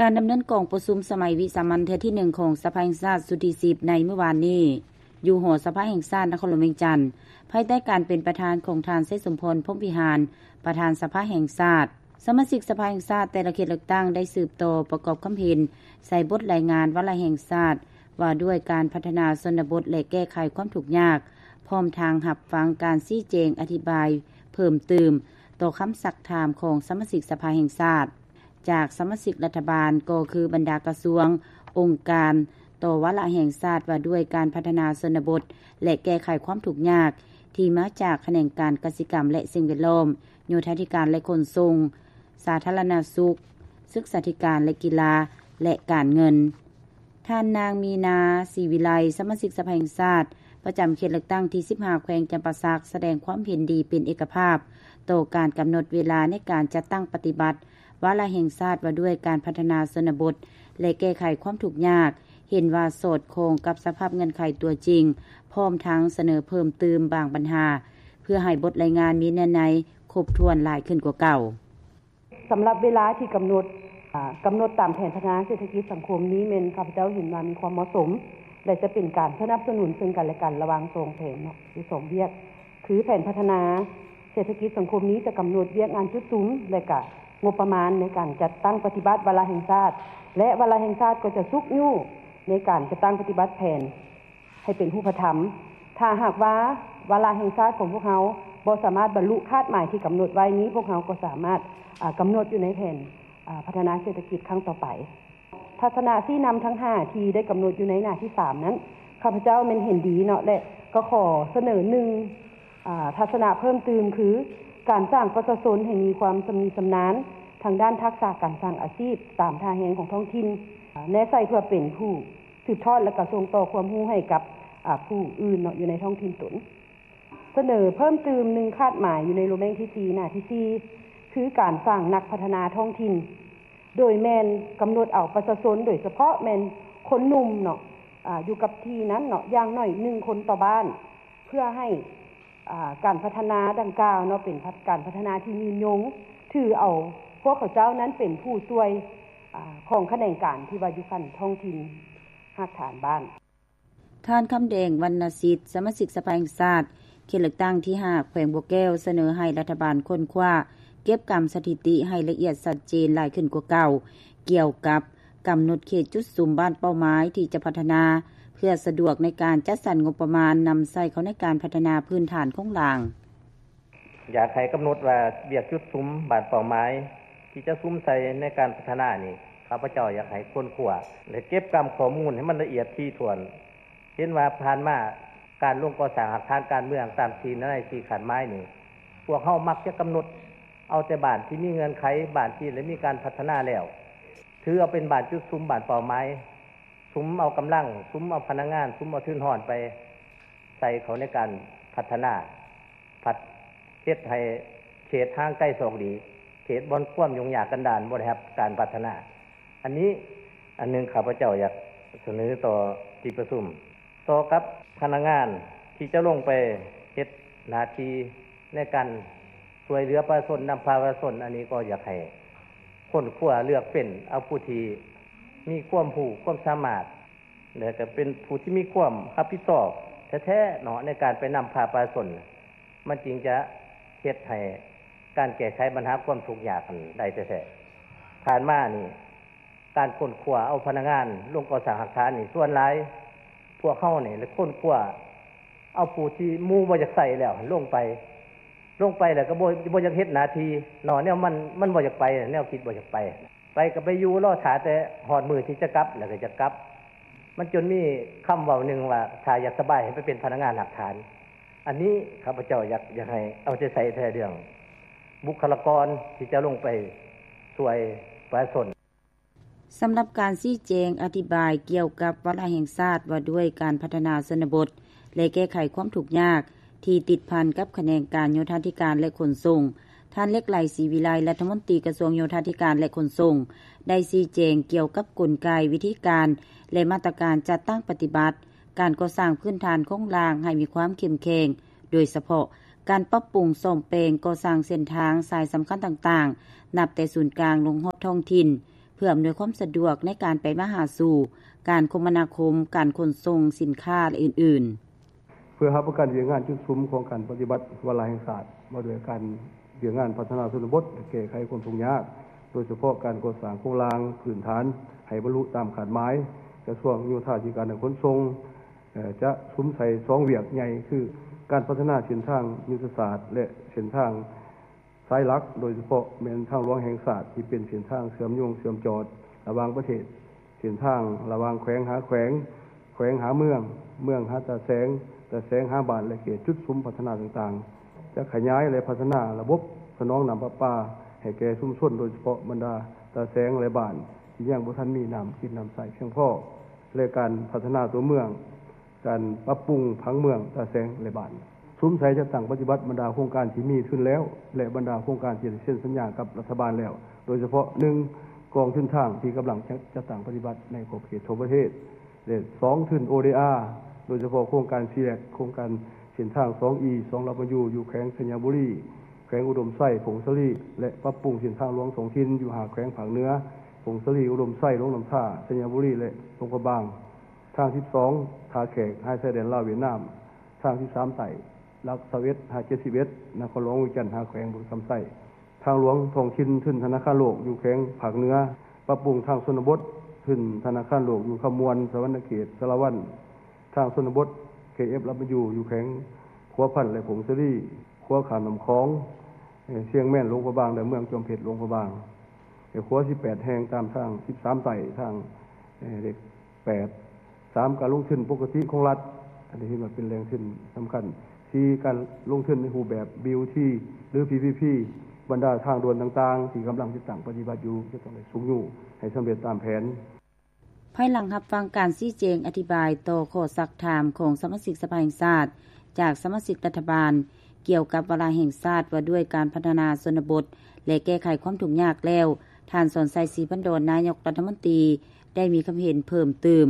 ການດຳເນີນກອງປະຊຸມສະໄໝວິສາມັນເທື່ອທີໜຶ່ງຂອງສະພາແຫ່ງຊາດຊຸດທີສິບໃນມື້ວານນີ້ ຢູ່ຫໍສະພາແຫ່ງຊາດນະຄອນຫຼວງວຽງຈັນ ພາຍໃຕ້ການເປັນປະທານຂອງທ່ານ ໄຊສົມພອນ ພົມວິຫານ ປະທານສະພາແຫ່ງຊາດ. ສະມາຊິກສະພາແຫ່ງຊາດແຕ່ລະເຂດເລືອກຕັ້ງໄດ້ສືບຕໍ່ປະກອບຄຳເຫັນໃສ່ບົດລາຍງານວາລະແຫ່ງຊາດ ວ່າດ້ວຍການພັດທະນາຊົນນະບົດ ແລະ ແກ້ໄຂຄວາມທຸກຍາກ, ພ້ອມທັງຮັບຟັງການຊີ້ແຈງອະທິບາຍເພີ່ມຕື່ມຕໍ່ຄຳຊັກຖາມຂອງສະມາຊິກສະພາແຫ່ງຊາດ. ຈາກສະມາຊິກລັດຖະບານ ກໍຄືບັນດາກະຊວງ, ອົງການ ຕໍ່ວາລະແຫ່ງຊາດວ່າດ້ວຍການພັດທະນາຊົນນະບົດ ແລະ ແກ້ໄຂຄວາມທຸກຍາກ ທີ່ມາຈາກຂະແໜງການກະສິກຳ ແລະ ສິ່ງແວດລ້ອມ, ໂຍທາທິການ ແລະ ຂົນສົ່ງ, ສາທາລະນະສຸກ, ສຶກສາທິການ ແລະ ກິລາ ແລະ ການເງິນ. ທ່ານນາງ ມີນາ ສີວິໄລ ສະມາຊິກສະພາແຫ່ງຊາດ ປະຈຳເຂດເລືອກຕັ້ງທີສິບຫ້າ ແຂວງຈຳປາສັກ ສະແດງຄວາມເຫັນດີເປັນເອກະພາບຕໍ່ການກຳນົດເວລາໃນການຈັດຕັ້ງປະຕິບັດວາລະແຫ່ງຊາດວ່າດ້ວຍການພັດທະນາຊົນນະບົດ ແລະ ແກ້ໄຂຄວາມທຸກຍາກ, ເຫັນວ່າສອດຄ່ອງກັບສະພາບເງື່ອນໄຂຕົວຈິງ, ພ້ອມທັງສະເໜີເພີ່ມຕື່ມບາງບັນຫາ ເພື່ອໃຫ້ບົດລາຍງານມີເນື້ອໃນຄົບຖ້ວນຫຼາຍຂຶ້ນກວ່າເກົ່າ. ສຳລັບເວລາທີ່ກຳນົດ ອາ ກຳນົດຕາມແຜນພັດທະນາເສດຖະກິດສັງຄົມນີ້ ແມ່ນຂ້າພະເຈົ້າເຫັນວ່າມີຄວາມເໝາະສົມ ແລະ ຈະເປັນການສະໜັບສະໜູນເຊິ່ງກັນ ແລະ ກັນ ລະຫວ່າງສອງແຜນເນາະ ຫຼື ສອງວຽກ ຄືແຜນພັດທະນາເສດຖະກິດສັງຄົມນີ້ຈະກຳນົດວຽກງານຈຸດສຸມ ແລະ ກະງົບປະມານໃນການຈັດຕັ້ງປະຕິບັດວາລະແຫ່ງຊາດ ແລະ ວາລະແຫ່ງຊາດກໍຈະຊຸກຍູ້ໃນການຈັດຕັ້ງປະຕິບັດແຜນ ໃຫ້ເປັນຮູບປະທຳ. ຖ້າຫາກວ່າວາລະແຫ່ງຊາດຂອງພວກເຮົາບໍ່ສາມາດບັນລຸຄາດໝາຍທີ່ກຳນົດໄວ້ນີ້ ພວກເຮົາກໍສາມາດ ອາ ກຳນົດຢູ່ໃນແຜນ ອາ ພັດທະນາເສດຖະກິດຄັ້ງຕໍ່ໄປ. ທັດສະນະຊີ້ນຳທັງຫ້າທີ່ໄດ້ກຳນົດຢູ່ໃນໜ້າທີສາມນັ້ນ ຂ້າພະເຈົ້າແມ່ນເຫັນດີເນາະ ແລະ ກໍຂໍສະເໜີໜຶ່ງ ອາ ທັດສະນະເພີ່ມຕື່ມ ຄື ການສ້າງປະຊາຊົນໃຫ້ມີຄວາມຊຳນິຊຳນານທາງດ້ານທັກສະການສ້າງອາຊີບຕາມທ່າແຮງຂອງທ້ອງຖິ່ນ ແນໃສ່ເພື່ອເປັນຜູ້ ສືບທອດ ແລະ ກະສົ່ງຕໍ່ຄວາມຮູ້ໃຫ້ກັບ ອາ ຜູ້ອື່ນເນາະ ຢູ່ໃນທ້ອງຖິ່ນຕົນ. ສະເໜີເພີ່ມຕື່ມໜຶ່ງຄາດໝາຍຢູ່ໃນໂລແມງທີສີ່ ໜ້າທີສີ່ ຄືການສ້າງນັກພັດທະນາທ້ອງຖິ່ນ ໂດຍແມ່ນກຳນົດເອົາປະຊາຊົນ ໂດຍສະເພາະແມ່ນຄົນໜຸ່ມເນາະ ອາ ຢູ່ກັບທີ່ນັ້ນເນາະ ຢ່າງໜ້ອຍໜຶ່ງຄົນຕໍ່ບ້ານ ເພື່ອໃຫ້ ອາ ການພັດທະນາດັ່ງກ່າວເນາະ ເປັນພັດ ການພັດທະນາທີ່ຍືນຍົງ ຖືເອົາພວກເຂົາເຈົ້ານັ້ນເປັນຜູ້ຊ່ວຍ ອາ ຂອງຂະແໜງການທີ່ວ່າຢູ່ຂັ້ນທ້ອງຖິ່ນຮາກຖານບ້ານ. ທ່ານ ຄຳແດງ ວັນນະສິດ ສະມາຊິກສະພາແຫ່ງຊາດ ເຂດເລືອກຕັ້ງທີຫ້າ ແຂວງບໍ່ແກ້ວ ສະເໜີໃຫ້ລັດຖະບານຄົ້ນຄວ້າ ເກັບກຳສະຖິຕິໃຫ້ລະອຽດຊັດເຈນຫຼາຍຂຶ້ນກວ່າເກົ່າ ກ່ຽວກັບກຳນົດເຂດຈຸດສຸມບ້ານເປົ້າໝາຍທີ່ຈະພັດທະນາ ເພື່ອສະດວກໃນການຈັດສັນງົບປະມານນຳໃຊ້ເຂົ້າໃນການພັດທະນາພື້ນຖານໂຄງລ່າງ. ຢາກໃຫ້ກຳນົດວ່າວຽກຈຸດສຸມບ້ານເປົ້າໝາຍ ທີ່ຈະສຸມໃສ່ໃນການພັດທະນານີ້ ຂ້າພະເຈົ້າຢາກໃຫ້ຄົ້ນຄວ້າ ແລະ ເກັບກຳຂໍ້ມູນໃຫ້ມັນລະອຽດຖີ່ຖ້ວນ. ເຫັນວ່າຜ່ານມາການລົງກໍ່ສ້າງຮາກຖານການເມືອງຕາມສີ່ໃນສີ່ຄາດໝາຍນີ້ ພວກເຮົາມັກຈະກຳນົດເອົາແຕ່ບ້ານທີ່ມີເງື່ອນໄຂ, ບ້ານທີ່ໄດ້ມີການພັດທະນາແລ້ວ ຖືເອົາເປັນບ້ານຈຸດສຸມ, ບ້ານເປົ້າໝາຍ, ສຸມເອົາກຳລັງ, ສຸມເອົາພະນັກງານ, ສຸມເອົາທຶນຮອນໄປໃສ່ເຂົ້າໃນການພັດທະນາ. ພັດເຮັດໃຫ້ເຂດຫ່າງໄກສອກຫຼີກ, ເຂດບ່ອນຄວາມຫຍຸ້ງຍາກກັນດານ ບໍ່ໄດ້ຮັບການພັດທະນາ. ອັນນີ້ອັນໜຶ່ງ ຂ້າພະເຈົ້າຢາກສະເໜີຕໍ່ທີ່ປະຊຸມ. ຕໍ່ກັບພະນັກງານທີ່ຈະລົງໄປເຮັດໜ້າທີ່ໃນການຊ່ວຍເຫຼືອປະຊາຊົນ, ນຳພາປະຊາຊົນ, ອັນນີ້ກໍຢາກໃຫ້ຄົ້ນຄວ້າເລືອກເຟັ້ນເອົາຜູ້ທີ່ມີຄວາມຮູ້ຄວາມສາມາດ ແລະ ກໍເປັນຜູ້ທີ່ມີຄວາມຮັບຜິດຊອບແທ້ໆເນາະ ໃນການໄປນຳພາປະຊາຊົນ, ມັນຈຶ່ງຈະເຮັດໃຫ້ການແກ້ໄຂບັນຫາຄວາມທຸກຍາກນັ້ນໄດ້ແທ້ໆ. ຜ່ານມານີ້ ການຄົ້ນຄວ້າເອົາພະນັກງານລົງກໍ່ສ້າງຮາກຖານນີ້ ສ່ວນຫຼາຍພວກເຮົານີ້ລະຄົ້ນຄວ້າເອົາຜູ້ທີ່ໝູ່ບໍ່ຢາກໃສ່ແລ້ວຫັ້ນລົງໄປ, ລົງໄປແລ້ວກໍບໍ່ ບໍ່ຢາກເຮັດໜ້າທີ່ເນາະ, ແນວມັນ ມັນບໍ່ຢາກໄປ, ແນວຄິດບໍ່ຢາກໄປ. ໄປກໍໄປຢູ່ລໍຖ້າແຕ່ຮອດມື້ທີ່ຈະກັບ ແລ້ວກໍຈະກັບ. ມັນຈົນມີຄຳເວົ້າໜຶ່ງວ່າ ຖ້າຢາກສະບາຍໃຫ້ໄປເປັນພະນັກງານຮາກຖານ. ອັນນີ້ຂ້າພະເຈົ້າຢາກ ຢາກໃຫ້ເອົາໃຈໃສ່ແທ້ເລື່ອງບຸກຄະລາກອນທີ່ຈະລົງໄປຊ່ວຍປະຊາຊົນ. ສຳລັບການຊີ້ແຈງອະທິບາຍກ່ຽວກັບວາລະແຫ່ງຊາດວ່າດ້ວຍການພັດທະນາຊົນນະບົດ ແລະ ແກ້ໄຂຄວາມທຸກຍາກ ທີ່ຕິດພັນກັບຂະແໜງການໂຍທາທິການ ແລະ ຂົນສົ່ງ, ທ່ານ ເລັກໄຫຼ ສີວິໄລ ລັດຖະມົນຕີກະຊວງໂຍທາທິການ ແລະ ຂົນສົ່ງ ໄດ້ຊີ້ແຈງກ່ຽວກັບກົນໄກ, ວິທີການ ແລະ ມາດຕະການຈັດຕັ້ງປະຕິບັດການກໍ່ສ້າງພື້ນຖານໂຄງລ່າງໃຫ້ມີຄວາມເຂັ້ມແຂງ, ໂດຍສະເພາະການປັບປຸງສ້ອມແປງກໍ່ສ້າງເສັ້ນທາງສາຍສຳຄັນຕ່າງໆ ນັບແຕ່ສູນກາງລົງຮອດທ້ອງຖິ່ນ, ເ ພື່ອອຳນວຍຄວາມສະດວກໃນການໄປມາຫາສູ່, ການຄົມມະນາຄົມ, ການຂົນສົ່ງສິນຄ້າ ແລະ ອື່ນໆ. ເພື່ອຮັບປະກັນວຽກງານຈຸດສຸມຂອງການປະຕິບັດວາລະແຫ່ງຊາດ ວ່າດ້ວຍການວຽກງານພັດທະນາຊົນນະບົດ ແລະ ແກ້ໄຂຄວາມທຸກຍາກ, ໂດຍສະເພາະການກໍ່ສ້າງໂຄງລ່າງພື້ນຖານໃຫ້ບັນລຸຕາມຄາດໝາຍ, ກະຊວງໂຍທາທິການ ແລະ ຂົນສົ່ງ ເອີ ຈະສຸມໃສ່ສອງວຽກໃຫຍ່ ຄື ການພັດທະນາເສັ້ນທາງຍຸດທະສາດ ແລະ ເສັ້ນທາງສາຍຫຼັກ, ໂດຍສະເພາະແມ່ນທາງຫຼວງແຫ່ງຊາດ ທີ່ເປັນເສັ້ນທາງເຊື່ອມໂຍງເຊື່ອມຈອດລະຫວ່າງປະເທດ, ເສັ້ນທາງລະຫວ່າງແຂວງຫາແຂວງ, ແຂວງຫາເມືອງ, ເມືອງຫາຕາແສງ, ຕາແສງຫາບ້ານ ແລະ ເຂດຈຸດສຸມພັດທະນາຕ່າງໆ, ຈະຂະຫຍາຍ ແລະ ພັດທະນາລະບົບສະໜອງນ້ຳປະປາໃຫ້ແກ່ຊຸມຊົນ, ໂດຍສະເພາະບັນດາຕາແສງ ແລະ ບ້ານທີ່ຍັງບໍ່ທັນມີນ້ຳກິນນ້ຳໃຊ້ພຽງພໍ, ແລະ ການພັດທະນາຕົວເມືອງ, ການປັບປຸງຜັງເມືອງຕາແສງ ແລະ ບ້ານ. ສຸມໃສ່ຈັດຕັ້ງປະຕິບັດບັນດາໂຄງການທີ່ມີທຶນແລ້ວ ແລະ ບັນດາໂຄງການທີ່ໄດ້ເຊັນສັນຍາກັບລັດຖະບານແລ້ວ, ໂດຍສະເພາະ ໜຶ່ງ ກອງທຶນທາງທີ່ກຳລັງຈັດ ຈັດຕັ້ງປະຕິບັດໃນຂອບເຂດທົ່ວປະເທດ ແລະ ສອງ ທຶນ ໂອ ດີ ອາ ໂດຍສະເພາະໂຄງການ ຊີແລັກ ໂຄງການເສັ້ນທາງ ສອງ ອີ ສອງ ລັດມາຢູ່ ຢູ່ແຂວງໄຊຍະບູລີ, ແຂວງອຸດົມໄຊ, ຜົ້ງສາລີ ແລະ ປັບປຸງເສັ້ນທາງຫຼວງທ້ອງຖິ່ນຢູ່ຫ້າແຂວງພາກເໜືອ, ຜົ້ງສາລີ, ອຸດົມໄຊ, ຫຼວງນ້ຳທາ, ໄຊຍະບູລີ ແລະ ຫຼວງພະບາງ. ທາງ ສິບສອງ ທ່າແຂກ ຫາຊາຍແດນລາວຫວຽດນາມ, ທາງ ສິບສາມ ໃຕ້ ຫຼັກ ຊາວເອັດ ຫາ ເຈັດສິບເອັດ ນະຄອນຫຼວງວຽງຈັນ ຫາແຂວງບໍລິຄຳໄຊ. ທາງຫຼວງທ້ອງຖິ່ນ ທຶນທະນາຄານໂລກຢູ່ແຂວງພາກເໜືອ, ປັບປຸງທາງຊົນນະບົດ ທຶນທະນາຄານໂລກຢູ່ຄຳມ່ວນ, ສະຫວັນນະເຂດ, ສາລະວັນ. ທາງຊົນນະບົດ ເຄເອັຟ ລັດມາຢູ່ ຢູ່ແຂວງຫົວພັນ ແລະ ຜົ້ງສາລີ, ຂົວຂ້າມນ້ຳຂອງ ເອີ ຊຽງແມນ ຫຼວງພະບາງ ແລະ ເມືອງຈອມເພັດ ຫຼວງພະບາງ, ແລະ ຂົວ ສິບແປດ ແຫ່ງ ຕາມທາງ ສິບສາມ ໃຕ້ ທາງ ເອີ ເລກ ແປດ. ສາມ ການລົງທຶນປົກກະຕິຂອງລັດ ອັນນີ້ເຫັນວ່າເປັນແຫຼ່ງທຶນສຳຄັນ. ສີ່ ການລົງທຶນໃນຮູບແບບ ບີ ໂອ ທີ ຫຼື ພີ ພີ ພີ ບັນດາທາງດ່ວນຕ່າງໆ ທີ່ກຳລັງຈັດຕັ້ງປະຕິບັດຢູ່ ຈະຕ້ອງໄດ້ຊຸກຍູ້ໃຫ້ສຳເລັດຕາມແຜນ. ພາຍຫຼັງຮັບຟັງການຊີ້ແຈງອະທິບາຍຕໍ່ຂໍ້ຊັກຖາມຂອງສະມາຊິກສະພາແຫ່ງຊາດ ຈາກສະມາຊິກລັດຖະບານ ກ່ຽວກັບວາລະແຫ່ງຊາດວ່າດ້ວຍການພັດທະນາຊົນນະບົດ ແລະ ແກ້ໄຂຄວາມທຸກຍາກແລ້ວ, ທ່ານ ສອນໄຊ ສີພັນດອນ ນາຍົກລັດຖະມົນຕີ ໄດ້ມີຄຳເຫັນເພີ່ມຕື່ມ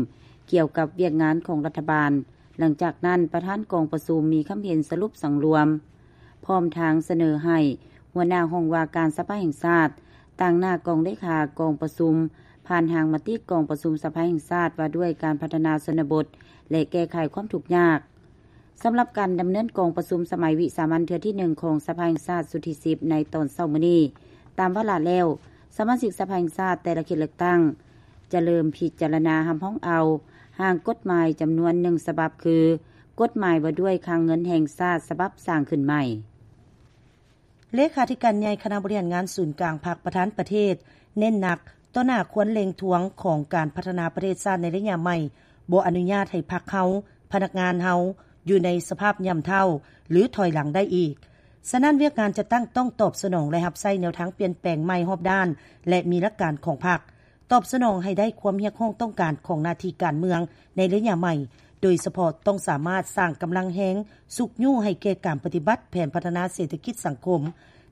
ກ່ຽວກັບວຽກງານຂອງລັດຖະບານ. ຫຼັງຈາກນັ້ນ, ປະທານກອງປະຊຸມມີຄຳເຫັນສະຫຼຸບສັງລວມ, ພ້ອມທັງສະເໜີໃຫ້ຫົວໜ້າຫ້ອງວ່າການສະພາແຫ່ງຊາດ ຕາງໜ້າກອງເລຂາກອງປະຊຸມ ຜ່ານຮ່າງມະຕິກອງປະຊຸມສະພາແຫ່ງຊາດວ່າດ້ວຍການພັດທະນາຊົນນະບົດ ແລະ ແກ້ໄຂຄວາມທຸກຍາກ. ສຳລັບການດຳເນີນກອງປະຊຸມສະໄໝວິສາມັນເທື່ອທີໜຶ່ງຂອງສະພາແຫ່ງຊາດຊຸດທີສິບ ໃນຕອນເຊົ້າມື້ນີ້, ຕາມວາລະແລ້ວ, ສະມາຊິກສະພາແຫ່ງຊາດແຕ່ລະເຂດເລືອກຕັ້ງ ຈະເລີ່ມພິຈາລະນາຮັບຮອງເອົາຮ່າງກົດໝາຍຈຳນວນໜຶ່ງສະບັບ ຄື ກົດໝາຍວ່າດ້ວຍຄັງເງິນແຫ່ງຊາດສະບັບສ້າງຂຶ້ນໃໝ່. ເລຂາທິການໃຫຍ່ຄະນະບໍລິຫານງານສູນກາງພັກ ປະທານປະເທດ ເນັ້ນໜັກຕໍ່ໜ້າຄວນເລັ່ງທວງຂອງການພັດທະນາປະເທດຊາດໃນໄລຍະໃໝ່, ບໍ່ອະນຸຍາດໃຫ້ພັກເຮົາ, ພະນັກງານເຮົາ ຢູ່ໃນສະພາບຍ່ຳເຖົ້າ ຫຼື ຖອຍຫຼັງໄດ້ອີກ. ສະນັ້ນ, ວຽກງານຈັດຕັ້ງຕ້ອງຕອບສະໜອງ ແລະ ຮັບໃຊ້ແນວທາງປ່ຽນແປງໃໝ່ຮອບດ້ານ ແລະ ມີຫຼັກການຂອງພັກ. ຕອບສະໜອງໃຫ້ໄດ້ຄວາມຮຽກຮ້ອງຕ້ອງການຂອງໜ້າທີ່ການເມືອງໃນໄລຍະໃໝ່, ໂດຍສະເພາະຕ້ອງສາມາດສ້າງກຳລັງແຮງຊຸກຍູ້ໃຫ້ແກ່ການປະຕິບັດແຜນພັດທະນາເສດຖະກິດສັງຄົມ,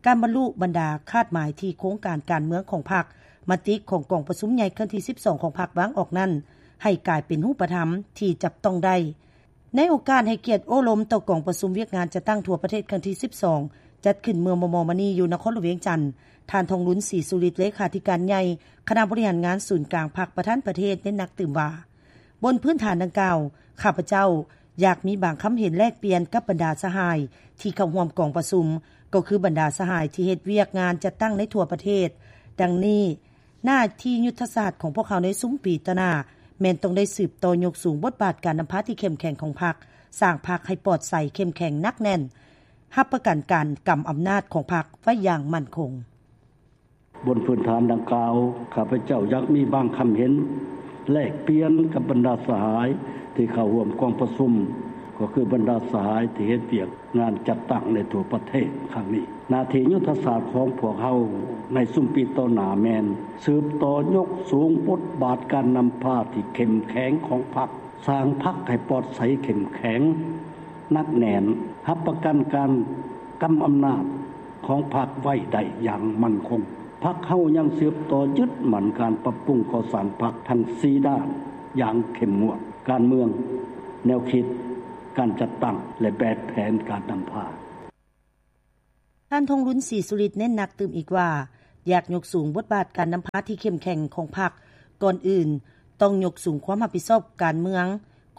ການບັນລຸບັນດາຄາດໝາຍທີ່ໂຄງການການເມືອງຂອງພັກ, ມະຕິຂອງກອງປະຊຸມໃຫຍ່ຄັ້ງທີສິບສອງຂອງພັກວາງອອກນັ້ນ ໃຫ້ກາຍເປັນຮູບປະທຳທີ່ຈັບຕ້ອງໄດ້. ໃນໂອກາດໃຫ້ກຽດໂອ້ລົມຕໍ່ກອງປະຊຸມວຽກງານຈັດຕັ້ງທົ່ວປະເທດຄັ້ງທີສິບສອງ ຈັດຂຶ້ນເມື່ອມໍ່ໆມານີ້ຢູ່ນະຄອນຫຼວງວຽງຈັນ, ທ່ານ ທອງລຸນ ສີສຸລິດ ເລຂາທິການໃຫຍ່ຄະນະບໍລິຫານງານສູນກາງພັກ ປະທານປະເທດ ເນັ້ນໜັກຕື່ມວ່າ, ບົນພື້ນຖານດັ່ງກ່າວ, ຂ້າພະເຈົ້າຢາກມີບາງຄຳເຫັນແລກປ່ຽນກັບບັນດາສະຫາຍທີ່ເຂົ້າຮ່ວມກອງປະຊຸມ, ກໍຄືບັນດາສະຫາຍທີ່ເຮັດວຽກງານຈັດຕັ້ງໃນທົ່ວປະເທດ. ດັ່ງນີ້, ໜ້າທີ່ຍຸດທະສາດຂອງພວກເຮົາໃນຊຸມປີຕໍ່ໜ້າ ແມ່ນຕ້ອງໄດ້ສືບຕໍ່ຍົກສູງບົດບາດການນຳພາທີ່ເຂັ້ມແຂງຂອງພັກ, ສ້າງພັກໃຫ້ປອດໃສ, ເຂັ້ມແຂງ, ໜັກແໜ້ນ, ຮັບປະກັນການກຳອຳນາດຂອງພັກໄວ້ຢ່າງໝັ້ນຄົງ. ບົນພື້ນຖານດັ່ງກ່າວ, ຂ້າພະເຈົ້າຢາກມີບາງຄຳເຫັນແລກປ່ຽນກັບບັນດາສະຫາຍທີ່ເຂົ້າຮ່ວມກອງປະຊຸມ, ກໍຄືບັນດາສະຫາຍທີ່ເຮັດວຽກ ງານຈັດຕັ້ງໃນທົ່ວປະເທດຄັ້ງນີ້. ໜ້າທີ່ຍຸດທະສາດຂອງພວກເຮົາໃນຊຸມປີຕໍ່ໜ້າແມ່ນສືບຕໍ່ຍົກສູງບົດບາດການນຳພາທີ່ເຂັ້ມແຂງຂອງພັກ, ສ້າງພັກໃຫ້ປອດໃສ, ເຂັ້ມແຂງ, ໜັກແໜ້ນ, ຮັບປະກັນການກຳອຳນາດຂອງພັກໄວ້ໄດ້ຢ່າງໝັ້ນຄົງ. ພັກເຮົາຍັງສືບຕໍ່ຍຶດໝັ້ນການປັບປຸງກໍ່ສ້າງພັກທັງສີ່ດ້ານຢ່າງເຂັ້ມງວດ, ການເມືອງ, ແນວຄິດ, ການຈັດຕັ້ງ ແລະ ແບບແຜນການນຳພາ. ທ່ານ ທອງລຸນ ສີສຸລິດ ເນັ້ນໜັກຕື່ມອີກວ່າ, ຢາກຍົກສູງບົດບາດການນຳພາທີ່ເຂັ້ມແຂງຂອງພັກ, ກ່ອນອື່ນຕ້ອງຍົກສູງຄວາມຮັບຜິດຊອບການເມືອງ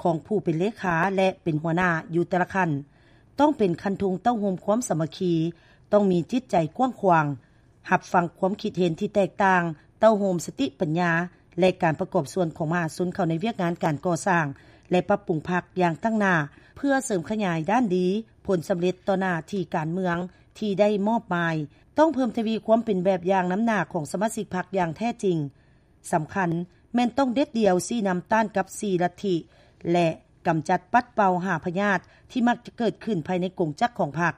ຂອງຜູ້ເປັນເລຂາ ແລະ ເປັນຫົວໜ້າຢູ່ແຕ່ລະຂັ້ນ. ຕ້ອງເປັນຄັນທຸງເຕົ້າໂຮມຄວາມສາມັກຄີ, ຕ້ອງມີຈິດໃຈກວ້າງຂວາງ, ຮັບຟັງຄວາມຄິດເຫັນທີ່ແຕກຕ່າງ, ເຕົ້າໂຮມສະຕິປັນຍາ ແລະ ການປະກອບສ່ວນຂອງມະຫາຊົນເຂົ້າໃນວຽກງານການກໍ່ສ້າງ ແລະ ປັບປຸງພັກຢ່າງຕັ້ງໜ້າ ເພື່ອເສີມຂະຫຍາຍດ້ານດີ, ຜົນສຳເລັດຕໍ່ໜ້າທີ່ການເມືອງທີ່ໄດ້ມອບໝາຍ. ຕ້ອງເພີ່ມທະວີຄວາມເປັນແບບຢ່າງນຳໜ້າຂອງສະມາຊິກພັກຢ່າງແທ້ຈິງ. ສຳຄັນແມ່ນຕ້ອງເດັດດ່ຽວຊີ້ນຳຕ້ານກັບສີ່ລັດທິ ແລະ ກຳຈັດປັດເປົ່າຫ້າພະຍາດທີ່ມັກຈະເກີດຂຶ້ນພາຍໃນກົງຈັກຂອງພັກ,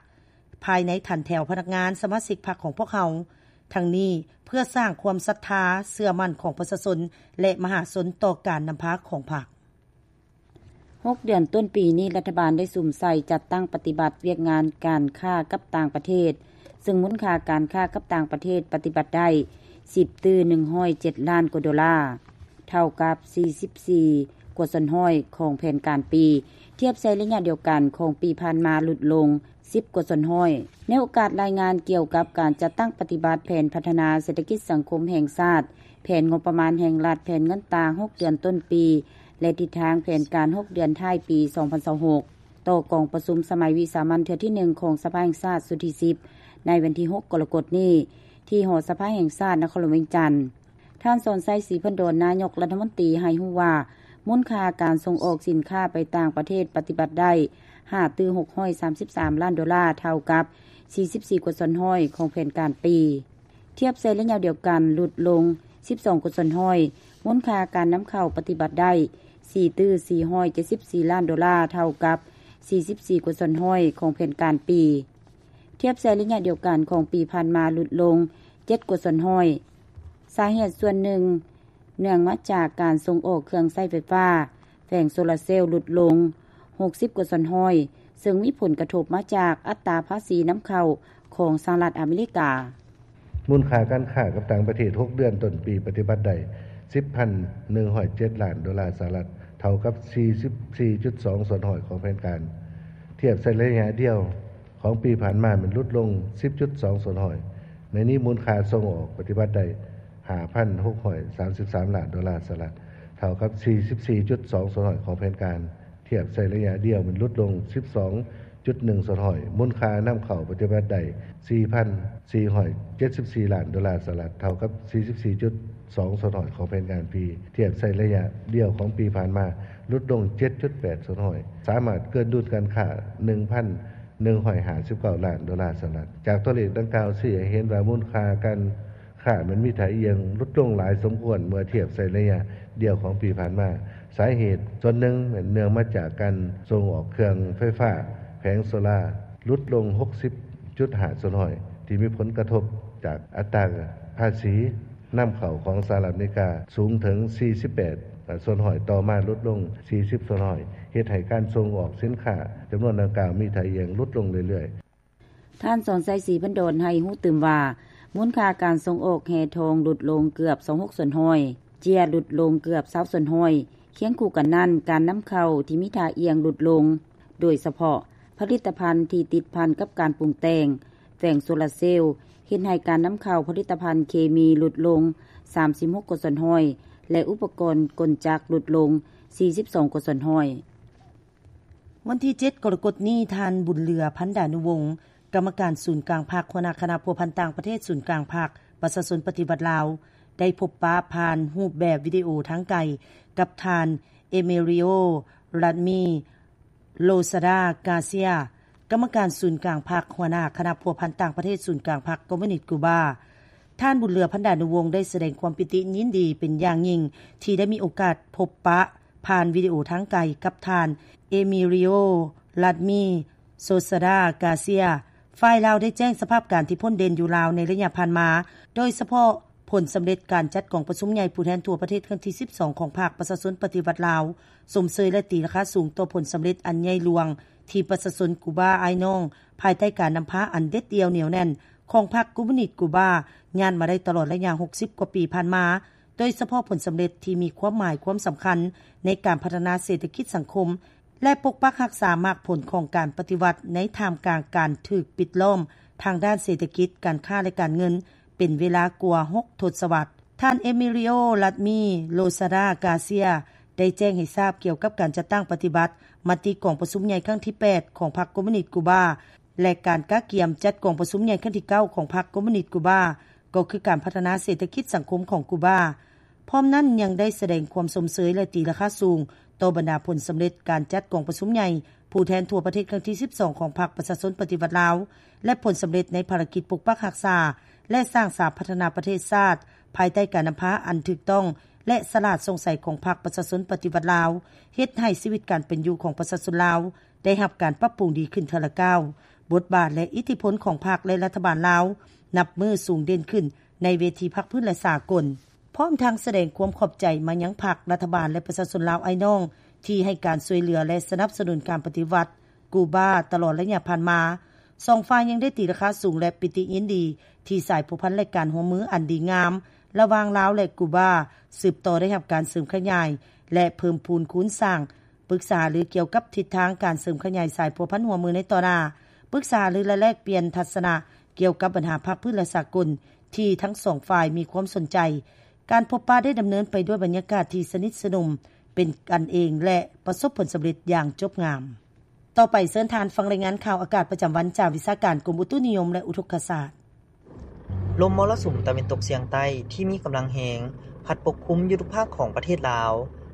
ພາຍໃນຖັນແຖວພະນັກງານສະມາຊິກພັກຂອງພວກເຮົາ. ທັງນີ້ເພື່ອສ້າງຄວາມສັດທາເຊື່ອໝັ້ນຂອງປະຊາຊົນ ແລະ ມະຫາຊົນຕໍ່ການນຳພາຂອງພັກ. ຫົກເດືອນຕົ້ນປີນີ້, ລັດຖະບານໄດ້ສຸມໃສ່ຈັດຕັ້ງປະຕິບັດວຽກງານການຄ້າກັບຕ່າງປະເທດ, ເຊິ່ງມູນຄ່າການຄ້າກັບຕ່າງປະເທດປະຕິບັດໄດ້ສິບຕື້ໜຶ່ງຮ້ອຍເຈັດລ້ານກວ່າໂດລາ, ເທົ່າກັບສີ່ສິບສີ່ກວ່າສ່ວນຮ້ອຍຂອງແຜນການປີ, ທຽບໃສ່ໄລຍະດຽວກັນຂອງປີຜ່ານມາຫຼຸດລົງ ສິບກວ່າສ່ວນຮ້ອຍ. ໃນໂອກາດລາຍງານກ່ຽວກັບການຈັດຕັ້ງປະຕິບັດແຜນພັດທະນາເສດຖະກິດສັງຄົມແຫ່ງຊາດ, ແຜນງົບປະມານແຫ່ງລັດ, ແຜນເງິນຕາຫົກເດືອນຕົ້ນປີ ແລະ ທິດທາງແຜນການຫົກເດືອນທ້າຍປີສອງພັນຊາວຫົກ ຕໍ່ກອງປະຊຸມສະໄໝວິສາມັນເທື່ອທີໜຶ່ງຂອງສະພາແຫ່ງຊາດຊຸດທີສິບ ໃນວັນທີຫົກກໍລະກົດນີ້ ທີ່ຫໍສະພາແຫ່ງຊາດ ນະຄອນຫຼວງວຽງຈັນ. ທ່ານ ສອນໄຊ ສີພັນດອນ ນາຍົກລັດຖະມົນຕີ ໃຫ້ຮູ້ວ່າ ມູນຄ່າການສົ່ງອອກສິນຄ້າໄປຕ່າງປະເທດປະຕິບັດໄດ້ຫ້າຕື້ຫົກຮ້ອຍສາມສິບສາມລ້ານໂດລາ, ເທົ່າກັບສີ່ສິບສີ່ກວ່າສ່ວນຮ້ອຍຂອງແຜນການປີ. ທຽບໃສ່ໄລຍະດຽວກັນ ຫຼຸດລົງສິບສອງກວ່າສ່ວນຮ້ອຍ. ມູນຄ່າການນຳເຂົ້າປະຕິບັດໄດ້ສີ່ຕື້ສີ່ຮ້ອຍເຈັດສິບສີ່ລ້ານໂດລາ, ເທົ່າກັບສີ່ສິບສີ່ກວ່າສ່ວນຮ້ອຍຂອງແຜນການປີ. ທຽບໃສ່ໄລຍະດຽວກັນຂອງປີຜ່ານມາ ຫຼຸດລົງເຈັດກວ່າສ່ວນຮ້ອຍ. ສາເຫດສ່ວນໜຶ່ງເນື່ອງມາຈາກການສົ່ງອອກເຄື່ອງໃຊ້ໄຟຟ້າ, ແຜງໂຊລາເຊວຫຼຸດລົງຫົກສິບກວ່າສ່ວນຮ້ອຍ, ເຊິ່ງມີຜົນກະທົບມາຈາກອັດຕາພາສີນຳເຂົ້າຂອງສະຫະລັດອາເມລິກາ. ມູນຄ່າການຄ້າກັບຕ່າງປະເທດຫົກເດືອນຕົ້ນປີປະຕິບັດໄດ້ສິບພັນໜຶ່ງຮ້ອຍເຈັດລ້ານໂດລາສະຫະລັດ, ເທົ່າກັບສີ່ສິບສີ່ຈຸດສອງສ່ວນຮ້ອຍຂອງແຜນການ. ທຽບໃສ່ໄລຍະດຽວຂອງປີຜ່ານມາແມ່ນຫຼຸດລົງສິບຈຸດສອງສ່ວນຮ້ອຍ. ໃນນີ້ມູນຄ່າສົ່ງອອກປະຕິບັດໄດ້ຫ້າພັນຫົກຮ້ອຍສາມສິບສາມລ້ານໂດລາສະຫະລັດ, ເທົ່າກັບສີ່ສິບສີ່ຈຸດສອງສ່ວນຮ້ອຍຂອງແຜນການ. ທຽບໃສ່ໄລຍະດຽວແມ່ນຫຼຸດລົງສິບສອງຈຸດໜຶ່ງສ່ວນຮ້ອຍ. ມູນຄ່ານຳເຂົ້າປະຕິບັດໄດ້ສີ່ພັນສີ່ຮ້ອຍເຈັດສິບສີ່ລ້ານໂດລາສະຫະລັດ, ເທົ່າກັບສີ່ສິບສີ່ຈຸດສອງສ່ວນຮ້ອຍຂອງແຜນການປີ. ທຽບໃສ່ໄລຍະດຽວຂອງປີຜ່ານມາ ຫຼຸດລົງເຈັດຈຸດແປດສ່ວນຮ້ອຍ, ສາມາດເກີນດຸນການຄ້າໜຶ່ງພັນໜຶ່ງຮ້ອຍຫ້າສິບເກົ້າລ້ານໂດລາສະຫະລັດ. ຈາກຕົວເລກດັ່ງກ່າວຊີ້ໃຫ້ເຫັນວ່າມູນຄ່າການ ຄ່າມັນມີທ່າອ່ຽງຫຼຸດລົງຫຼາຍສົມຄວນເມື່ອທຽບໃສ່ໄລຍະດຽວຂອງປີຜ່ານມາ. ສາເຫດສ່ວນໜຶ່ງແມ່ນເນື່ອງມາຈາກການສົ່ງອອກເຄື່ອງໄຟຟ້າແຜງໂຊລາຫຼຸດລົງຫົກສິບຈຸດຫ້າສ່ວນຮ້ອຍ ທີ່ມີຜົນກະທົບຈາກອັດຕາພາສີນຳເຂົ້າຂອງສະຫະລັດອາເມລິກາສູງເຖິງສີ່ສິບແປດສ່ວນຮ້ອຍ, ຕໍ່ມາຫຼຸດລົງສີ່ສິບສ່ວນຮ້ອຍ, ເຮັດໃຫ້ການສົ່ງອອກສິນຄ້າຈຳນວນດັ່ງກ່າວມີທ່າອ່ຽງຫຼຸດລົງເລື້ອຍໆ. ທ່ານ ສອນໄຊ ສີພັນດອນ ໃຫ້ຮູ້ຕື່ມວ່າ ມູນຄ່າການສົ່ງອອກແຮ່ທອງຫຼຸດລົງເກືອບຊາວຫົກສ່ວນຮ້ອຍ, ເຈ້ຍຫຼຸດລົງເກືອບຊາວສ່ວນຮ້ອຍ. ຄຽງຄູ່ກັນນັ້ນ, ການນຳເຂົ້າທີ່ມີທ່າອ່ຽງຫຼຸດລົງ, ໂດຍສະເພາະຜະລິດຕະພັນທີ່ຕິດພັນກັບການປຸງແຕ່ງ, ແຜງໂຊລາເຊວ, ເຮັດໃຫ້ການນຳເຂົ້າຜະລິດຕະພັນເຄມີຫຼຸດລົງສາມສິບຫົກກວ່າສ່ວນຮ້ອຍ ແລະ ອຸປະກອນກົນຈັກຫຼຸດລົງສີ່ສິບສອງກວ່າສ່ວນຮ້ອຍ. ວັນທີເຈັດ ກໍລະກົດນີ້, ທ່ານ ບຸນເຫຼືອ ພັນດານຸວົງ ກຳມະການສູນກາງພັກ, ຫົວໜ້າຄະນະພົວພັນຕ່າງປະເທດສູນກາງພັກປະຊາຊົນປະຕິວັດລາວ ໄດ້ພົບປະຜ່ານຮູບແບບວິດີໂອທາງໄກກັບທ່ານ ເອເມຣິໂອ ລັດມີ ໂລຊາດາ ກາເຊຍ ກຳມະການສູນກາງພັກ, ຫົວໜ້າຄະນະພົວພັນຕ່າງປະເທດສູນກາງພັກຄອມມູນິດກູບາ. ທ່ານ ບຸນເຫຼືອ ພັນດານຸວົງ ໄດ້ສະແດງຄວາມປີຕິຍິນດີເປັນຢ່າງຍິ່ງທີ່ໄດ້ມີໂອກາດພົບປະ ຜ່ານວິດີໂອທາງໄກກັບທ່ານ ເອມິລິໂອ ລັດມີ ໂຊຊາດາ ກາເຊຍ. ຝ່າຍລາວໄດ້ແຈ້ງສະພາບການທີ່ພົ້ນເດັ່ນຢູ່ລາວໃນໄລຍະຜ່ານມາ, ໂດຍສະເພາະຜົນສຳເລັດການຈັດກອງປະຊຸມໃຫຍ່ຜູ້ແທນທົ່ວປະເທດຄັ້ງທີສິບສອງຂອງພັກປະຊາຊົນປະຕິວັດລາວ, ຊົມເຊີຍ ແລະ ຕີລາຄາສູງຕໍ່ຜົນສຳເລັດອັນໃຫຍ່ຫຼວງທີ່ປະຊາຊົນກູບາອ້າຍນ້ອງ ພາຍໃຕ້ການນຳພາອັນເດັດດ່ຽວໜຽວແໜ້ນຂອງພັກຄອມມູນິດກູບາ ຍາດມາໄດ້ຕະຫຼອດໄລຍະຫົກສິບກວ່າປີຜ່ານມາ, ໂດຍສະເພາະຜົນສຳເລັດທີ່ມີຄວາມໝາຍຄວາມສຳຄັນໃນການພັດທະນາເສດຖະກິດສັງຄົມ ແລະ ປົກປັກຮັກສາໝາກຜົນຂອງການປະຕິວັດໃນທ່າມກາງການຖືກປິດລ້ອມທາງດ້ານເສດຖະກິດ, ການຄ້າ ແລະ ການເງິນ ເປັນເວລາກວ່າຫົກທົດສະວັດ. ທ່ານ ເອມິລິໂອ ລັດມີ ໂລຊາດາ ກາເຊຍ ໄດ້ແຈ້ງໃຫ້ຊາບກ່ຽວກັບການຈັດຕັ້ງປະຕິບັດມະຕິກອງປະຊຸມໃຫຍ່ຄັ້ງທີແປດຂອງພັກຄອມມູນິດກູບາ ແລະ ການກະກຽມຈັດກອງປະຊຸມໃຫຍ່ຄັ້ງທີເກົ້າຂອງພັກຄອມມູນິດກູບາ ກໍຄືການພັດທະນາເສດຖະກິດສັງຄົມຂອງກູບາ. ພ້ອມນັ້ນຍັງໄດ້ສະແດງຄວາມຊົມເຊີຍ ແລະ ຕີລາຄາສູງຕໍ່ບັນດາຜົນສຳເລັດການຈັດກອງປະຊຸມໃຫຍ່ຜູ້ແທນທົ່ວປະເທດຄັ້ງທີສິບສອງຂອງພັກປະຊາຊົນປະຕິວັດລາວ ແລະ ຜົນສຳເລັດໃນພາລະກິດປົກປັກຮັກສາ ແລະ ສ້າງສາພັດທະນາປະເທດຊາດ ພາຍໃຕ້ການນຳພາອັນຖືກຕ້ອງ ແລະ ສະຫຼາດໂປ່ງໃສຂອງພັກປະຊາຊົນປະຕິວັດລາວ ເຮັດໃຫ້ຊີວິດການເປັນຢູ່ຂອງປະຊາຊົນລາວໄດ້ຮັບການປັບປຸງດີຂຶ້ນເທື່ອລະກ້າວ. ບົດບາດ ແລະ ອິດທິພົນຂອງພັກ ແລະ ລັດຖະບານລາວ ນັບມື້ສູງເດັ່ນຂຶ້ນໃນເວທີພາກພື້ນ ແລະ ສາກົນ. ພ້ອມທັງສະແດງຄວາມຂອບໃຈມາຍັງພັກ, ລັດຖະບານ ແລະ ປະຊາຊົນລາວອ້າຍນ້ອງ ທີ່ໃຫ້ການຊ່ວຍເຫຼືອ ແລະ ສະໜັບສະໜູນການປະຕິວັດກູບາຕະຫຼອດໄລຍະຜ່ານມາ. ສອງຝ່າຍຍັງໄດ້ຕີລາຄາສູງ ແລະ ປິຕິຍິນດີທີ່ສາຍພົວພັນ ແລະ ການຮ່ວມມືອັນດີງາມລະຫວ່າງລາວ ແລະ ກູບາ ສືບຕໍ່ໄດ້ຮັບການເສີມຂະຫຍາຍ ແລະ ເພີ່ມພູນຄູນສ້າງ, ປຶກສາຫາລືກ່ຽວກັບທິດທາງການເສີມຂະຫຍາຍສາຍພົວພັນຮ່ວມມືໃນຕໍ່ໜ້າ, ປຶກສາຫາລື ແລະ ແລກປ່ຽນທັດສະນະກ່ຽວກັບບັນຫາພາກພື້ນ ແລະ ສາກົນ ທີ່ທັງສອງຝ່າຍມີຄວາມສົນໃຈ. ການພົບປະໄດ້ດຳເນີນໄປດ້ວຍບັນຍາກາດທີ່ສະໜິດສະໜົມ, ເປັນກັນເອງ ແລະ ປະສົບຜົນສຳເລັດຢ່າງຈົບງາມ. ຕໍ່ໄປເຊີນທ່ານຟັງລາຍງານຂ່າວອາກາດປະຈຳວັນຈາກວິຊາການກົມອຸຕຸນິຍົມ ແລະ ອຸທົກກະສາດ. ລົມມໍລະສຸມຕາເວັນຕົກສຽງໃຕ້ທີ່ມີກຳລັງແຮງ ພັດປົກຄຸມຢູ່ທຸກພາກຂອງປະເທດລາວ,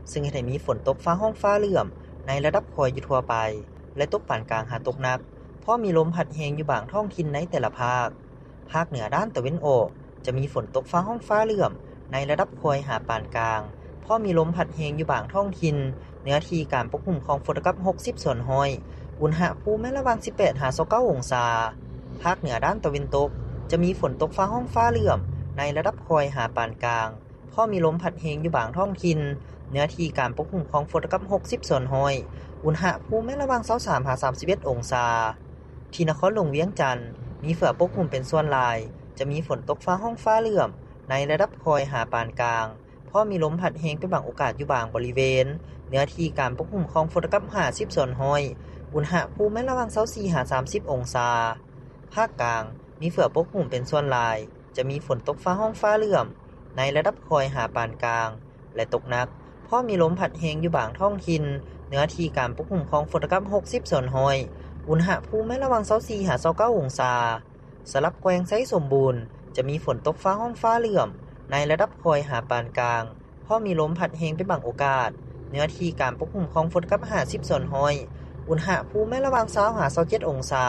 ເຊິ່ງເຮັດໃຫ້ມີຝົນຕົກຟ້າຮ້ອງຟ້າເຫຼື້ອມໃນລະດັບຄ່ອຍຢູ່ທົ່ວໄປ ແລະ ຕົກປານກາງຫາຕົກໜັກ, ພໍມີລົມພັດແຮງຢູ່ບາງທ້ອງຖິ່ນໃນແຕ່ລະພາກ. ພາກເໜືອດ້ານຕາເວັນອອກ ຈະມີຝົນຕົກຟ້າຮ້ອງຟ້າເຫຼື້ອມໃນລະດັບຄ່ອຍຫາປານກາງ, ພໍມີລົມພັດແຮງຢູ່ບາງທ້ອງຖິ່ນ, ເນື້ອທີ່ການປົກຄຸມຂອງຝົນຕະກັບຫົກສິບສ່ວນຮ້ອຍ, ອຸນຫະພູມແມ່ນລະຫວ່າງສິບແປດຫາຊາວເກົ້າອົງສາ. ພາກເໜືອດ້ານຕາເວັນຕົກ ຈະມີຝົນຕົກຟ້າຮ້ອງຟ້າເຫຼື້ອມໃນລະດັບຄ່ອຍຫາປານກາງ, ພໍມີລົມພັດແຮງຢູ່ບາງທ້ອງຖິ່ນ, ເນື້ອທີ່ການປົກຄຸມຂອງຝົນຕະກັບຫົກສິບສ່ວນຮ້ອຍ, ອຸນຫະພູມແມ່ນລະຫວ່າງຊາວສາມຫາສາມສິບເອັດອົງສາ. ທີ່ນະຄອນຫຼວງວຽງຈັນ ມີເຝືອປົກຄຸມເປັນສ່ວນຫຼາຍ, ຈະມີຝົນຕົກຟ້າຮ້ອງຟ້າເຫຼື້ອມໃນລະດັບຄ່ອຍຫາປານກາງ, ພໍມີລົມພັດແຮງເປັນບາງໂອກາດຢູ່ບາງບໍລິເວນ, ເນື້ອທີ່ການປົກຄຸມຂອງຝົນຕະກັບຫ້າສິບສ່ວນຮ້ອຍ, ອຸນຫະພູມແມ່ນລະຫວ່າງຊາວສີ່ຫາສາມສິບອົງສາ. ພາກກາງ ມີເຝືອປົກຄຸມເປັນສ່ວນຫຼາຍ, ຈະມີຝົນຕົກຟ້າຮ້ອງຟ້າເຫຼື້ອມໃນລະດັບຄ່ອຍຫາປານກາງ ແລະ ຕົກໜັກ, ພໍມີລົມພັດແຮງຢູ່ບາງທ້ອງຖິ່ນ, ເນື້ອທີ່ການປົກຄຸມຂອງຝົນຕະກັບຫົກສິບສ່ວນຮ້ອຍ, ອຸນຫະພູມແມ່ນລະຫວ່າງຊາວສີ່ຫາຊາວເກົ້າອົງສາ. ສຳລັບແຂວງໄຊສົມບູນ ຈະມີຝົນຕົກຟ້າຮ້ອງຟ້າເຫຼື້ອມໃນລະດັບຄ່ອຍຫາປານກາງ, ພໍມີລົມພັດແຮງເປັນບາງໂອກາດ, ເນື້ອທີ່ການປົກຄຸມຂອງຝົນຕະກັບຫ້າສິບສ່ວນຮ້ອຍ, ອຸນຫະພູມແມ່ນລະຫວ່າງຊາວຫາຊາວເຈັດອົງສາ.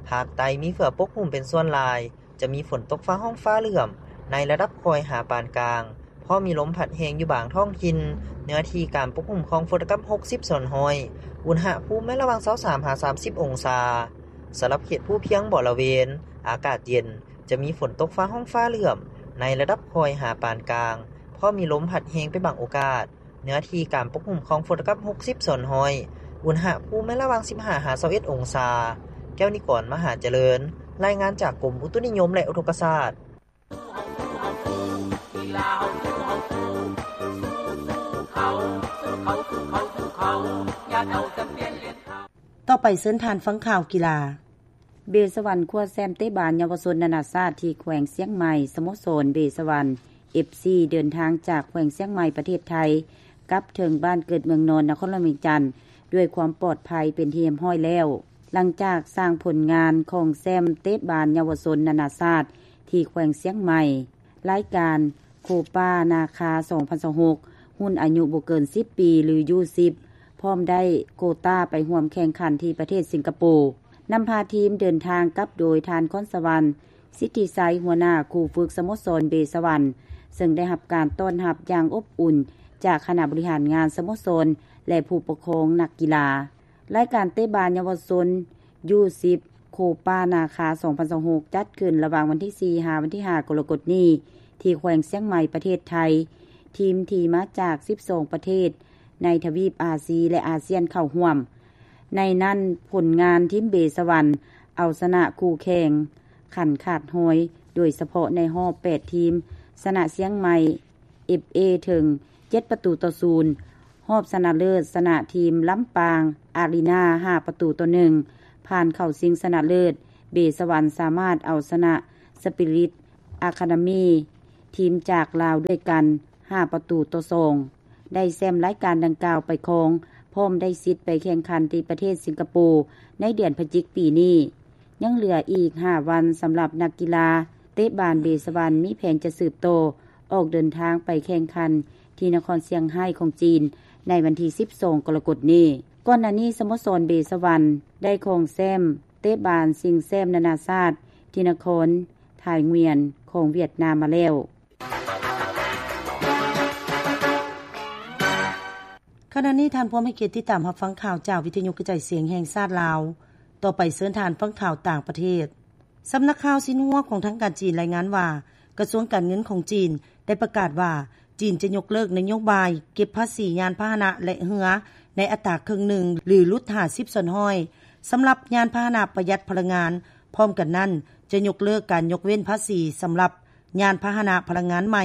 ພາກໃຕ້ມີເຝືອປົກຄຸມເປັນສ່ວນຫຼາຍ, ຈະມີຝົນຕົກຟ້າຮ້ອງຟ້າເຫຼື້ອມໃນລະດັບຄ່ອຍຫາປານກາງ, ພໍມີລົມພັດແຮງຢູ່ບາງທ້ອງຖິ່ນ, ເນື້ອທີ່ການປົກຄຸມຂອງຝົນຕະກັບຫົກສິບສ່ວນຮ້ອຍ, ອຸນຫະພູມແມ່ນລະຫວ່າງຊາວສາມຫາສາມສິບອົງສາ. ສຳລັບເຂດພູພຽງບໍລະເວນ ອາກາດເຢັນ, ຈະມີຝົນຕົກຟ້າຮ້ອງຟ້າເຫຼື້ອມໃນລະດັບຄ່ອຍຫາປານກາງ, ພໍມີລົມພັດແຮງເປັນບາງໂອກາດ, ເນື້ອທີ່ການປົກຄຸມຂອງຝົນຕະກັບຫົກສິບສ່ວນຮ້ອຍ, ອຸນຫະພູມແມ່ນລະຫວ່າງສິບຫ້າຫາຊາວເອັດອົງສາ. ແກ້ວນິກອນ ມະຫາຈະເລີນ, ລາຍງານຈາກກົມອຸຕຸນິຍົມ ແລະ ອຸທົກກະສາດ. ຕໍ່ໄປເຊີນທ່ານຟັງຂ່າວກິລາ. ເບສະຫວັນຄວ້າແຊ້ມເຕະບານເຍົາວະຊົນນານາຊາດທີ່ແຂວງຊຽງໃໝ່, ສະໂມສອນເບສະຫວັນ ເອັຟຊີ ເດີນທາງຈາກແຂວງຊຽງໃໝ່ ປະເທດໄທ ກັບເຖິງບ້ານເກີດເມືອງນອນ ນະຄອນຫຼວງວຽງຈັນ ດ້ວຍຄວາມປອດໄພເປັນທີ່ຮຽບຮ້ອຍແລ້ວ, ຫຼັງຈາກສ້າງຜົນງານຄອງແຊ້ມເຕະບານເຍົາວະຊົນນານາຊາດທີ່ແຂວງຊຽງໃໝ່. ລາຍການໂຄປານາຄາ ສອງພັນຊາວຫົກ ຮຸ່ນອາຍຸບໍ່ເກີນສິບປີ ຫຼື ຢູສິບ ພ້ອມໄດ້ໂກຕ້າໄປຮ່ວມແຂ່ງຂັນທີ່ປະເທດສິງກະໂປ. ນຳພາທີມເດີນທາງກັບໂດຍທ່ານ ຄອນສະຫວັນ ສິດທິໄຊ ຫົວໜ້າຄູຝຶກສະໂມສອນເບສະຫວັນ, ເຊິ່ງໄດ້ຮັບການຕ້ອນຮັບຢ່າງອົບອຸ່ນຈາກຄະນະບໍລິຫານງານສະໂມສອນ ແລະ ຜູ້ປົກຄອງນັກກິລາ. ລາຍການເຕະບານເຍົາວະຊົນ ຢູສິບ ໂຄປານາຄາ ສອງພັນຊາວຫົກ ຈັດຂຶ້ນລະຫວ່າງວັນທີສີ່ ຫາວັນທີຫ້າ ກໍລະກົດນີ້ ທີ່ແຂວງຊຽງໃໝ່ ປະເທດໄທ. ທີມທີ່ມາຈາກສິບສອງປະເທດໃນທະວີບອາຊີ ແລະ ອາຊຽນເຂົ້າຮ່ວມ. ໃນນັ້ນ, ຜົນງານທີມເບສະຫວັນເອົາຊະນະຄູ່ແຂ່ງຂັນຂາດຮ້ອຍ, ໂດຍສະເພາະໃນຮອບແປດທີມ, ຊະນະຊຽງໃໝ່ ເອັຟເອ ເຖິງເຈັດປະຕູຕໍ່ສູນ, ຮອບຊະນະເລີດຊະນະທີມລຳປາງອາຣີນາ ຫ້າປະຕູຕໍ່ໜຶ່ງ, ຜ່ານເຂົ້າຊິງຊະນະເລີດ. ເບສະຫວັນສາມາດເອົາຊະນະສະປິລິດ ອາຄາດາມີ ທີມຈາກລາວດ້ວຍກັນ ຫ້າປະຕູຕໍ່ສອງ ໄດ້ແຊ້ມລາຍການດັ່ງກ່າວໄປຄອງ ພ້ອມໄດ້ສິດໄປແຂ່ງຂັນທີ່ປະເທດສິງກະໂປ ໃນເດືອນພະຈິກປີນີ້. ຍັງເຫຼືອອີກຫ້າວັນສຳລັບນັກກິລາເຕະບານເບສະວັນ ມີແຜນຈະສືບຕໍ່ອອກເດີນທາງໄປແຂ່ງຂັນທີ່ນະຄອນຊຽງໄຮ້ຂອງຈີນ ໃນວັນທີສິບສອງ ກໍລະກົດນີ້. ກ່ອນໜ້ານີ້ ສະໂມສອນເບສະວັນ ໄດ້ຄອງແຊ້ມເຕະບານຊິງແຊ້ມນານາຊາດທີ່ນະຄອນ ທ່າຍງວຽນຂອງຫວຽດນາມມາແລ້ວ. ຂະນະນີ້ທ່ານພວມໃຫ້ກຽດຕິດຕາມຮັບຟັງຂ່າວຈາກວິທະຍຸກະຈາຍສຽງແຫ່ງຊາດລາວ. ຕໍ່ໄປເຊີນທ່ານຟັງຂ່າວຕ່າງປະເທດ. ສຳນັກຂ່າວຊິນຫົວຂອງທາງການຈີນລາຍງານວ່າ ກະຊວງການເງິນຂອງຈີນໄດ້ປະກາດວ່າ ຈີນຈະຍົກເລີກນະໂຍບາຍເກັບພາສີຍານພາຫະນະ ແລະ ເຮືອໃນອັດຕາເຄິ່ງໜຶ່ງ ຫຼື ຫຼຸດຫ້າສິບສ່ວນຮ້ອຍ ສຳລັບຍານພາຫະນະປະຢັດພະລັງງານ. ພ້ອມກັນນັ້ນ ຈະຍົກເລີກການຍົກເວັ້ນພາສີສຳລັບຍານພາຫະນະພະລັງງານໃໝ່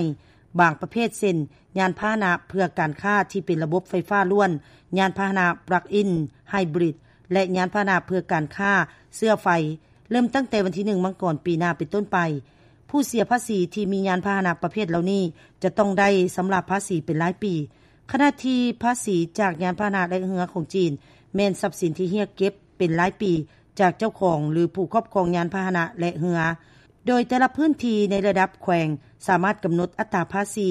ບາງປະເພດ ເຊັ່ນ ຍານພາຫະນະເພື່ອການຄ້າທີ່ເປັນລະບົບໄຟຟ້າລ້ວນ, ຍານພາຫະນະປລັກອິນໄຮບຣິດ ແລະ ຍານພາຫະນະເພື່ອການຄ້າເຊື້ອໄຟ ເລີ່ມຕັ້ງແຕ່ວັນທີໜຶ່ງ ມັງກອນ ປີໜ້າເປັນຕົ້ນໄປ. ຜູ້ເສຍພາສີທີ່ມີຍານພາຫະນະປະເພດເຫຼົ່ານີ້ ຈະຕ້ອງໄດ້ຊຳລະພາສີເປັນລາຍປີ, ຂະນະທີ່ພາສີຈາກຍານພາຫະນະ ແລະ ເຮືອຂອງຈີນ ແມ່ນຊັບສິນທີ່ຮຽກເກັບເປັນລາຍປີຈາກເຈົ້າຂອງ ຫຼື ຜູ້ຄອບຄອງຍານພາຫະນະ ແລະ ເຮືອ, ໂດຍແຕ່ລະພື້ນທີ່ໃນລະດັບແຂວງສາມາດກຳນົດອັດຕາພາສີ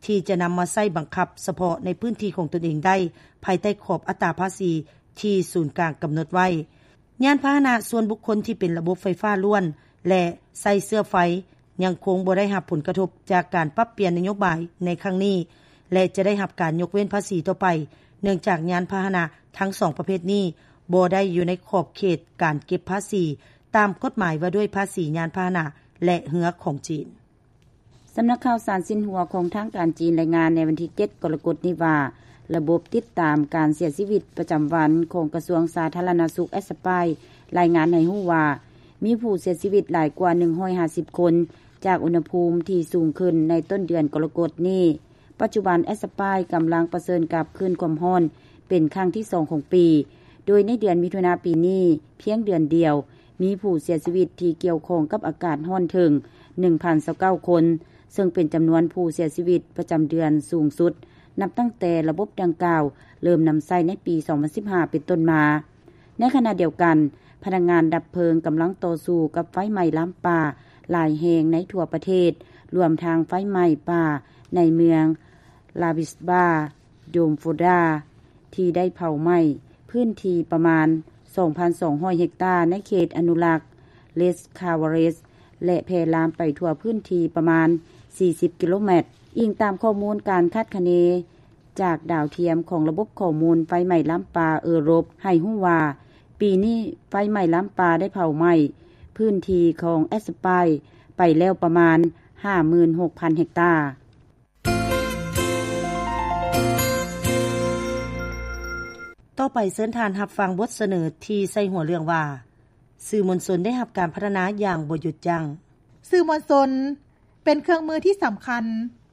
ທີ່ຈະນຳມາໃຊ້ບັງຄັບສະເພາະໃນພື້ນທີ່ຂອງຕົນເອງໄດ້ ພາຍໃຕ້ຂອບອັດຕາພາສີທີ່ສູນກາງກຳນົດໄວ້. ຍານພາຫະນະສ່ວນບຸກຄົນທີ່ເປັນລະບົບໄຟຟ້າລ້ວນ ແລະ ໃຊ້ເຊື້ອໄຟ ຍັງຄົງບໍ່ໄດ້ຮັບຜົນກະທົບຈາກການປັບປ່ຽນນະໂຍບາຍໃນຄັ້ງນີ້ ແລະ ຈະໄດ້ຮັບການຍົກເວັ້ນພາສີຕໍ່ໄປ, ເນື່ອງຈາກຍານພາຫະນະທັງສອງປະເພດນີ້ ບໍ່ໄດ້ຢູ່ໃນຂອບເຂດການເກັບພາສີຕາມກົດໝາຍວ່າດ້ວຍພາສີຍານພາຫະນະ ແລະ ເຮືອຂອງຈີນ. ສຳນັກຂ່າວສານຊິນຫົວຂອງທາງການຈີນລາຍງານໃນວັນທີເຈັດ ກໍລະກົດນີ້ວ່າ ລະບົບຕິດຕາມການເສຍຊີວິດປະຈຳວັນຂອງກະຊວງສາທາລະນະສຸກແອັດສະປາຍ ລາຍງານໃຫ້ຮູ້ວ່າ ມີຜູ້ເສຍຊີວິດຫຼາຍກວ່າໜຶ່ງຮ້ອຍຫ້າສິບຄົນ ຈາກອຸນຫະພູມທີ່ສູງຂຶ້ນໃນຕົ້ນເດືອນກໍລະກົດນີ້. ປັດຈຸບັນແອັດສະປາຍກຳລັງປະເຊີນກັບຄື້ນຄວາມຮ້ອນເປັນຄັ້ງທີສອງຂອງປີ, ໂດຍໃນເດືອນມິຖຸນາປີນີ້ ພຽງເດືອນດຽວ ມີຜູ້ເສຍຊີວິດທີ່ກ່ຽວຂ້ອງກັບອາກາດຮ້ອນເຖິງໜຶ່ງພັນຊາວເກົ້າຄົນ, ເຊິ່ງເປັນຈຳນວນຜູ້ເສຍຊີວິດປະຈຳເດືອນສູງສຸດ ນັບຕັ້ງແຕ່ລະບົບດັ່ງກ່າວເລີ່ມນຳໃຊ້ໃນປີສອງພັນສິບຫ້າເປັນຕົ້ນມາ. ໃນຂະນະດຽວກັນ, ພະນັກງານດັບເພີງກຳລັງຕໍ່ສູ້ກັບໄຟໄໝ້ລາມປ່າຫຼາຍແຫ່ງໃນທົ່ວປະເທດ, ລວມທັງໄຟໄໝ້ປ່າໃນເມືອງ Labisba Domfoda ທີ່ໄດ້ເຜົາໄໝ້ພື້ນທີ່ປະມານສອງພັນສອງຮ້ອຍເຮັກຕາໃນເຂດອະນຸລັກ Les Kavares ແລະ ແຜ່ລາມໄປທົ່ວພື້ນທີ່ປະມານສີ່ສິບກິໂລແມັດ. ອີງຕາມຂໍ້ມູນການຄາດຄະເນຈາກດາວທຽມຂອງລະບົບຂໍ້ມູນໄຟໄໝ້ລາມປ່າເອີຣົບ ໃຫ້ຮູ້ວ່າ ປີນີ້ໄຟໄໝ້ລາມປ່າໄດ້ເຜົາໄໝ້ພື້ນທີ່ຂອງແອັດສະປາຍໄປແລ້ວປະມານຫ້າໝື່ນຫົກພັນເຮັກຕາ. ຕໍ່ໄປເຊີນທ່ານຮັບຟັງບົດສະເໜີທີ່ໃສ່ຫົວເລື່ອງວ່າ ສື່ມວນຊົນໄດ້ຮັບການພັດທະນາຢ່າງບໍ່ຢຸດຢັ້ງ. ສື່ມວນຊົນເປັນເຄື່ອງມືທີ່ສຳຄັນ,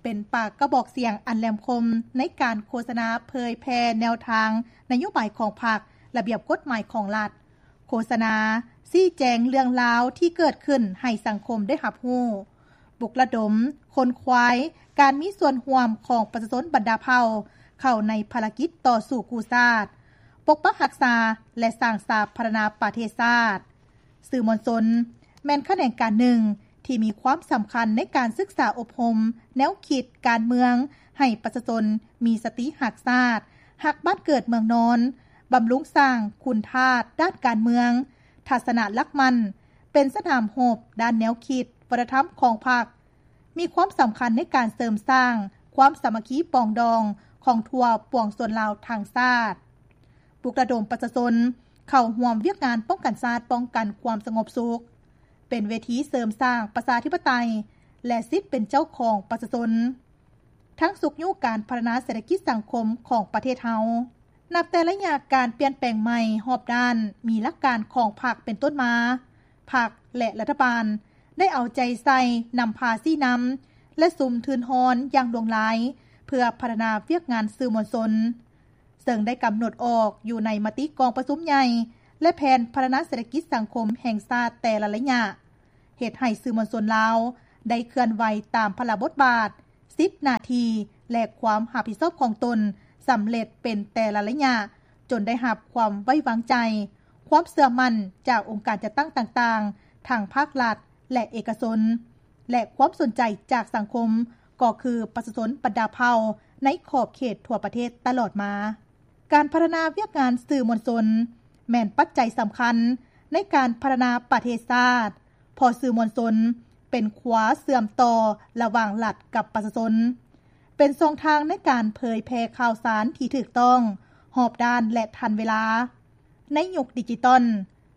ເປັນປາກກະບອກສຽງອັນແຫຼມຄົມໃນການໂຄສະນາເຜີຍແຜ່ແນວທາງນະໂຍບາຍຂອງພັກ, ລະບຽບກົດໝາຍຂອງລັດ, ໂຄສະນາຊີ້ແຈງເລື່ອງລາວທີ່ເກີດຂຶ້ນໃຫ້ສັງຄົມໄດ້ຮັບຮູ້, ປຸກລະດົມ, ຂົນຂວາຍການມີສ່ວນຮ່ວມຂອງປະຊາຊົນບັນດາເຜົ່າເຂົ້າໃນພາລະກິດຕໍ່ສູ້ກູ້ຊາດ, ປົກປັກຮັກສາ ແລະ ສ້າງສາພັດທະນາປະເທດຊາດ. ສື່ມວນຊົນແມ່ນຂະແໜງການໜຶ່ງທີ່ມີຄວາມສຳຄັນໃນການສຶກສາອົບຮົມແນວຄິດການເມືອງໃຫ້ປະຊາຊົນມີສະຕິຮັກຊາດ, ຮັກບ້ານເກີດເມືອງນອນ, ບຳລຸງສ້າງຄຸນທາດດ້ານການເມືອງ, ທັດສະນະຫຼັກໝັ້ນ ເປັນສະໜາມຮົບດ້ານແນວຄິດວັດທະນະທຳຂອງພັກ, ມີຄວາມສຳຄັນໃນການເສີມສ້າງຄວາມສາມັກຄີປອງດອງຂອງທົ່ວປວງຊົນລາວທັງຊາດ, ປຸກລະດົມປະຊາຊົນເຂົ້າຮ່ວມວຽກງານປ້ອງກັນຊາດ, ປ້ອງກັນຄວາມສະຫງົບສຸກ, ເປັນເວທີເສີມສ້າງປະຊາທິປະໄຕ ແລະ ສິດເປັນເຈົ້າຂອງປະຊາຊົນ, ທັງຊຸກຍູ້ການພັດທະນາເສດຖະກິດສັງຄົມຂອງປະເທດເຮົາ. ນັບແຕ່ໄລຍະການປ່ຽນແປງໃໝ່ຮອບດ້ານ, ມີຫຼັກການຂອງພັກເປັນຕົ້ນມາ, ພັກ ແລະ ລັດຖະບານໄດ້ເອົາໃຈໃສ່ນຳພາຊີ້ນຳ ແລະ ສຸມທຶນຮອນຢ່າງຫຼວງຫຼາຍ ເພື່ອພັດທະນາວຽກງານສື່ມວນຊົນ, ເຊິ່ງໄດ້ກຳນົດອອກຢູ່ໃນມະຕິກອງປະຊຸມໃຫຍ່ ແລະ ແຜນພັດທະນາເສດຖະກິດສັງຄົມແຫ່ງຊາດແຕ່ລະໄລຍະ, ເຮັດໃຫ້ສື່ມວນຊົນລາວ ໄດ້ເຄື່ອນໄຫວຕາມພາລະບົດບາດ, ສິດ, ໜ້າທີ່ ແລະ ຄວາມຮັບຜິດຊອບຂອງຕົນສຳເລັດເປັນແຕ່ລະໄລຍະ, ຈົນໄດ້ຮັບຄວາມໄວ້ວາງໃຈ, ຄວາມເຊື່ອໝັ້ນຈາກອົງການຈັດຕັ້ງຕ່າງໆ ທັງພາກລັດ ແລະ ເອກະຊົນ ແລະ ຄວາມສົນໃຈຈາກສັງຄົມ ກໍຄືປະຊາຊົນບັນດາເຜົ່າໃນຂອບເຂດທົ່ວປະເທດຕະຫຼອດມາ. ການພັດທະນາວຽກງານສື່ມວນຊົນ ແມ່ນປັດໄຈສຳຄັນໃນການພັດທະນາປະເທດຊາດ, ເພາະສື່ມວນຊົນເປັນຂົວເຊື່ອມຕໍ່ລະຫວ່າງລັດກັບປະຊາຊົນ, ເປັນຊ່ອງທາງໃນການເຜີຍແຜ່ຂ່າວສານທີ່ຖືກຕ້ອງ, ຮອບດ້ານ ແລະ ທັນເວລາ. ໃນຍຸກດິຈິຕອນ,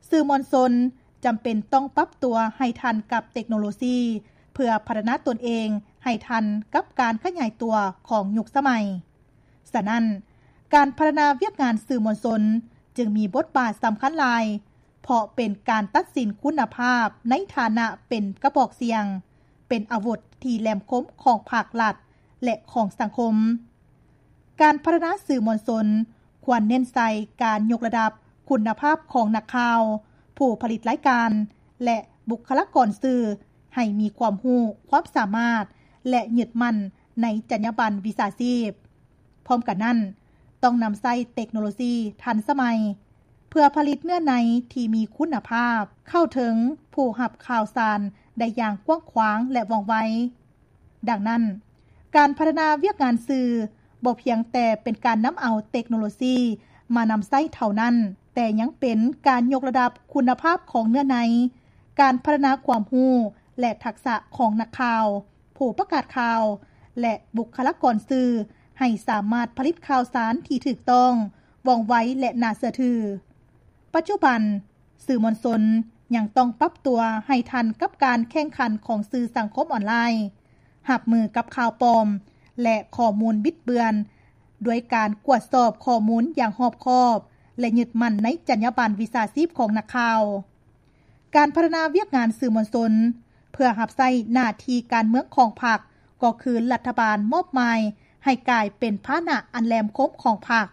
ສື່ມວນຊົນຈຳເປັນຕ້ອງປັບຕົວໃຫ້ທັນກັບເຕັກໂນໂລຊີ ເພື່ອພັດທະນາຕົນເອງໃຫ້ທັນກັບການຂະຫຍາຍຕົວຂອງຍຸກສະໄໝ. ສະນັ້ນ, ການພັດທະນາວຽກງານສື່ມວນຊົນຈຶ່ງມີບົດບາດສຳຄັນຫຼາຍ, ເພາະເປັນການຕັດສິນຄຸນນະພາບໃນຖານະເປັນກະບອກສຽງ, ເປັນອາວຸດທີ່ແຫຼມຄົມຂອງພາກລັດ ແລະ ຂອງສັງຄົມ. ການພັດທະນາສື່ມວນຊົນຄວນເນັ້ນໃສ່ການຍົກລະດັບຄຸນນະພາບຂອງນັກຂ່າວ, ຜູ້ຜະລິດລາຍການ ແລະ ບຸກຄະລາກອນສື່ ໃຫ້ມີຄວາມຮູ້, ຄວາມສາມາດ ແລະ ຍຶດໝັ້ນໃນຈັນຍາບັນວິຊາຊີບ. ພ້ອມກັນນັ້ນ, ຕ້ອງນຳໃຊ້ເຕັກໂນໂລຊີທັນສະໄໝ ເພື່ອຜະລິດເນື້ອໃນທີ່ມີຄຸນນະພາບ, ເຂົ້າເຖິງຜູ້ຮັບຂ່າວສານໄດ້ຢ່າງກວ້າງຂວາງ ແລະ ວ່ອງໄວ. ດັ່ງນັ້ນ, ການພັດທະນາວຽກງານສື່ບໍ່ພຽງແຕ່ເປັນການນຳເອົາເຕັກໂນໂລຊີມານຳໃຊ້ເທົ່ານັ້ນ, ແຕ່ຍັງເປັນການຍົກລະດັບຄຸນນະພາບຂອງເນື້ອໃນ, ການພັດທະນາຄວາມຮູ້ ແລະ ທັກສະຂອງນັກຂ່າວ, ຜູ້ປະກາດຂ່າວ ແລະ ບຸກຄະລາກອນສື່ ໃຫ້ສາມາດຜະລິດຂ່າວສານທີ່ຖືກຕ້ອງ, ວ່ອງໄວ ແລະ ໜ້າເຊື່ອຖື. ປັດຈຸບັນ, ສື່ມວນຊົນຍັງຕ້ອງປັບຕົວໃຫ້ທັນກັບການແຂ່ງຂັນຂອງສື່ສັງຄົມອອນລາຍ, ຮັບມືກັບຂ່າວປອມ ແລະ ຂໍ້ມູນບິດເບືອນ ດ້ວຍການກວດສອບຂໍ້ມູນຢ່າງຮອບຄອບ ແລະ ຍຶດໝັ້ນໃນຈັນຍາບັນວິຊາຊີບຂອງນັກຂ່າວ. ການພັດທະນາວຽກງານສື່ມວນຊົນ ເພື່ອຮັບໃຊ້ໜ້າທີ່ການເມືອງຂອງພັກ ກໍຄືລັດຖະບານມອບໝາຍໃຫ້ກາຍເປັນພາຫະນະອັນແຫຼມຄົມຂອງພັກ,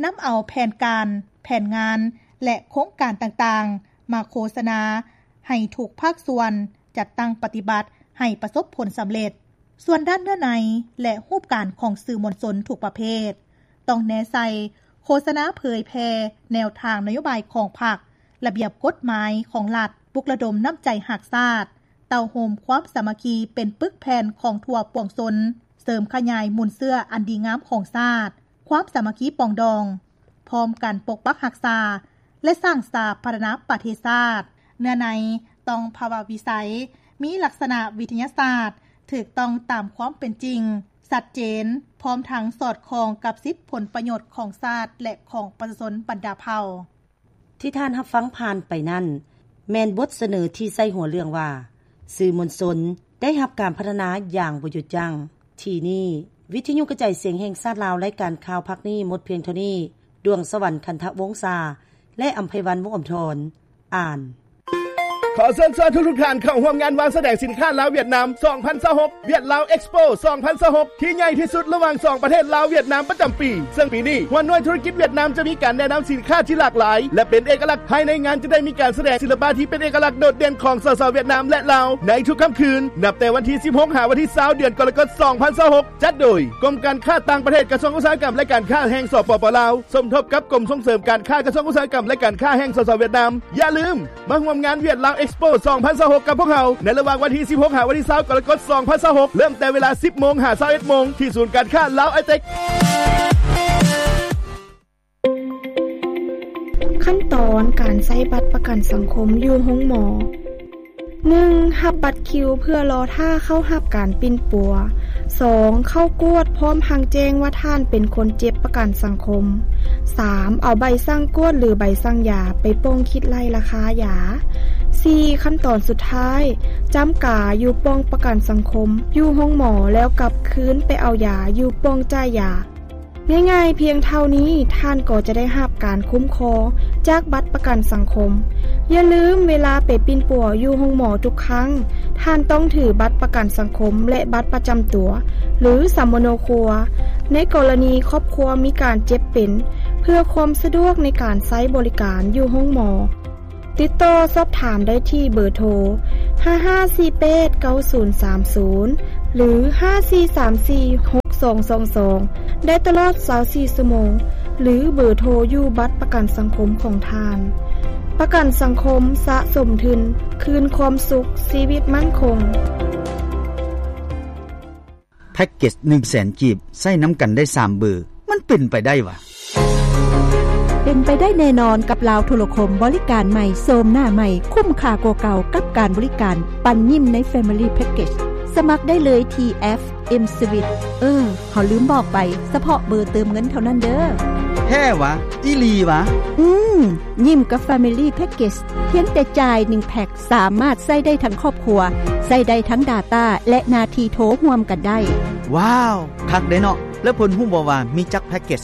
ນຳເອົາແຜນການ, ແຜນງານ ແລະ ໂຄງການຕ່າງໆ ມາໂຄສະນາໃຫ້ທຸກພາກສ່ວນຈັດຕັ້ງປະຕິບັດໃຫ້ປະສົບຜົນສຳເລັດ. ສ່ວນດ້ານເນື້ອໃນ ແລະ ຮູບການຂອງສື່ມວນຊົນທຸກປະເພດ ຕ້ອງແນໃສ່ໂຄສະນາເຜີຍແຜ່ແນວທາງນະໂຍບາຍຂອງພັກ, ລະບຽບກົດໝາຍຂອງລັດ, ປຸກລະດົມນ້ຳໃຈຮັກຊາດ, ເຕົ້າໂຮມຄວາມສາມັກຄີເປັນປຶກແຜ່ນຂອງທົ່ວປວງຊົນ, ເສີມຂະຫຍາຍມູນເຊື້ອອັນດີງາມຂອງຊາດ, ຄວາມສາມັກຄີປອງດອງ, ພ້ອມກັນປົກປັກຮັກສາ ແລະ ສ້າງສາພັດທະນາປະເທດຊາດ. ເນື້ອໃນຕ້ອງພາວະວິໄສ, ມີລັກສະນະວິທະຍາສາດ, ຖືກຕ້ອງຕາມຄວາມເປັນຈິງ, ຊັດເຈນ, ພ້ອມທັງສອດຄ່ອງກັບສິດຜົນປະໂຫຍດຂອງຊາດ ແລະ ຂອງປະຊາຊົນບັນດາເຜົ່າ. ທີ່ທ່ານຮັບຟັງຜ່ານໄປນັ້ນ ແມ່ນບົດສະເໜີທີ່ໃສ່ຫົວເລື່ອງວ່າ ສື່ມວນຊົນໄດ້ຮັບການພັດທະນາຢ່າງບໍ່ຢຸດຢັ້ງ. ທີ່ນີ້, ວິທະຍຸກະຈາຍສຽງແຫ່ງຊາດລາວ ລາຍການຂ່າວພາກນີ້ໝົດພຽງເທົ່ານີ້. ດວງສະຫວັນ ຄັນທະວົງສາ ແລະ ອຳໄພວັນ ວົງອຳທອນ ອ່ານ. ຂໍເຊີນຊວນທຸກໆທ່ານເຂົ້າຮ່ວມງານວາງສະແດງສິນຄ້າລາວຫວຽດນາມ ສອງພັນຊາວຫົກ ຫວຽດລາວເອັກສໂປ ສອງພັນຊາວຫົກ ທີ່ໃຫຍ່ທີ່ສຸດລະຫວ່າງສອງປະເທດລາວຫວຽດນາມປະຈຳປີ. ເຊິ່ງປີນີ້ ຫົວໜ່ວຍທຸລະກິດຫວຽດນາມຈະມີການແນະນຳສິນຄ້າທີ່ຫຼາກຫຼາຍ ແລະ ເປັນເອກະລັກ. ພາຍໃນງານຈະໄດ້ມີການສະແດງສິລະປະທີ່ເປັນເອກະລັກໂດດເດັ່ນຂອງສາວໆຫວຽດນາມ ແລະ ລາວ ໃນທຸກຄ່ຳຄືນ ນັບແຕ່ວັນທີສິບຫົກ ຫາວັນທີຊາວ ເດືອນກໍລະກົດ ສອງພັນຊາວຫົກ ຈັດໂດຍ ກົມການຄ້າຕ່າງປະເທດ ກະຊວງອຸດສາຫະກຳ ແລະ ການຄ້າແຫ່ງ ສປປ ລາວ ສົມທົບກັບກົມສົ່ງເສີມການຄ້າ ກະຊວງອຸດສາຫະກຳ ແລະ ການຄ້າແຫ່ງ ສສ ຫວຽດນາມ. ຢ່າລືມມາຮ່ວມງານຫວຽດລາວເອັກສໂປ ສອງພັນຊາວຫົກ ກັບພວກເຮົາ ໃນລະຫວ່າງວັນທີສິບຫົກ ຫາວັນທີຊາວ ກໍລະກົດ ສອງພັນຊາວຫົກ ເລີ່ມແຕ່ເວລາສິບໂມງ ຫາ ຊາວເອັດໂມງ ທີ່ສູນການຄ້າລາວໄອເຕັກ. ຂັ້ນຕອນການໃຊ້ບັດປະກັນສັງຄົມຢູ່ໂຮງໝໍ. ໜຶ່ງ ຮັບບັດຄິວເພື່ອລໍຖ້າເຂົ້າຮັບການປິ່ນປົວ. ສອງ ເຂົ້າກວດພ້ອມທັງແຈ້ງວ່າທ່ານເປັນຄົນເຈັບປະກັນສັງຄົມ. ສາມ ເອົາໃບສັ່ງກວດ ຫຼື ໃບສັ່ງຢາໄປປ່ອງຄິດໄລ່ລາຄາຢາ. ສີ່ ຂັ້ນຕອນສຸດທ້າຍ ຈ້ຳກາຢູ່ປ່ອງປະກັນສັງຄົມຢູ່ໂຮງໝໍ ແລ້ວກັບຄືນໄປເອົາຢາຢູ່ປ່ອງຈ່າຍຢາ. ງ່າຍໆພຽງເທົ່ານີ້ ທ່ານກໍຈະໄດ້ຮັບການຄຸ້ມຄອງຈາກບັດປະກັນສັງຄົມ. ຢ່າລືມ, ເວລາໄປປິ່ນປົວຢູ່ໂຮງໝໍທຸກຄັ້ງ, ທ່ານຕ້ອງຖືບັດປະກັນສັງຄົມ ແລະ ບັດປະຈຳຕົວ ຫຼື ສຳມະໂນຄົວ ໃນກໍລະນີຄອບຄົວມີການເຈັບເປັນ, ເພື່ອຄວາມສະດວກໃນການໃຊ້ບໍລິການຢູ່ໂຮງໝໍ. ຕິດຕໍ່ສອບຖາມໄດ້ທີ່ເບີໂທ ຫ້າຫ້າສີ່ແປດເກົ້າສູນສາມສູນ ຫຼື ຫ້າສີ່ສາມສີ່ຫົກສອງສອງສອງ ໄດ້ຕະຫຼອດຊາວສີ່ຊົ່ວໂມງ ຫຼື ເບີໂທຢູ່ບັດປະກັນສັງຄົມຂອງທ່ານ. ປະກັນສັງຄົມສະສົມທຶນ ຄືນຄວາມສຸກ ຊີວິດໝັ້ນຄົງ. ແພັກເກັດໜຶ່ງແສນກີບ ໃຊ້ນຳກັນໄດ້ສາມເບີ ມັນເປັນໄປໄດ້ຫວາ? ເປັນໄປໄດ້ແນ່ນອນກັບລາວໂທລະຄົມ ບໍລິການໃໝ່ ໂສມໜ້າໃໝ່ ຄຸ້ມຄ່າກວ່າເກົ່າກັບການບໍລິການ ປັນຍິ້ມໃນ Family Package. ສະໝັກໄດ້ເລີຍທີ່ແອັບ M-Swiss. ເອີ ເຮົາລືມບອກໄປ, ສະເພາະເບີເຕີມເງິນເທົ່ານັ້ນເດີ້. ແທ້ຫວາ? ອີ່ຫຼີຫວາ? ອືມ, ຍິ້ມກັບ Family Package ພຽງແຕ່ຈ່າຍໜຶ່ງແພັກ ສາມາດໃຊ້ໄດ້ທັງຄອບຄົວ, ໃຊ້ໄດ້ທັງ Data ແລະ ໜ້າທີ່ໂທຮ່ວມກັນໄດ້. ວ້າວ! ຄັກເດ້ເນາະ. ແລ້ວເພິ່ນຮູ້ບໍ່ວ່າມີຈັກແພັກເກັດ?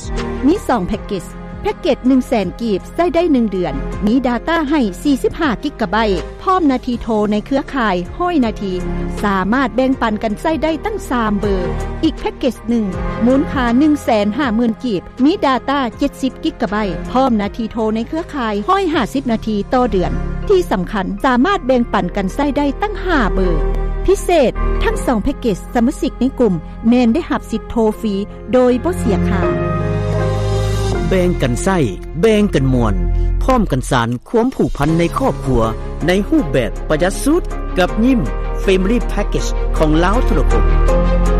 ມີສອງແພັກເກັດ. ແພັກເກັດໜຶ່ງແສນກີບ ໃຊ້ໄດ້ໜຶ່ງເດືອນ, ມີ Data ໃຫ້ສີ່ສິບຫ້າກິກກະໄບ, ພ້ອມໜ້າທີ່ໂທໃນເຄືອຂ່າຍຮ້ອຍນາທີ, ສາມາດແບ່ງປັນກັນໃຊ້ໄດ້ຕັ້ງສາມເບີ. ອີກແພັກເກັດໜຶ່ງ ມູນຄ່າໜຶ່ງແສນຫ້າໝື່ນກີບ, ມີ Data ເຈັດສິບກິກກະໄບ, ພ້ອມໜ້າທີ່ໂທໃນເຄືອຂ່າຍຮ້ອຍຫ້າສິບນາທີຕໍ່ເດືອນ. ທີ່ສຳຄັນ, ສາມາດແບ່ງປັນກັນໃຊ້ໄດ້ຕັ້ງຫ້າເບີ. ພິເສດ, ທັງສອງແພັກເກັດ ສະມາຊິກໃນກຸ່ມແມ່ນໄດ້ຮັບສິດໂທຟຣີໂດຍບໍ່ເສຍຄ່າ. ແບ່ງກັນໃຊ້, ແບ່ງກັນມ່ວນ, ພ້ອມກັນສານຄວາມຜູກພັນໃນຄອບຄົວ ໃນຮູບແບບປະຢັດສຸດ ກັບຍິ້ມ Family Package ຂອງລາວໂທລະຄົມ.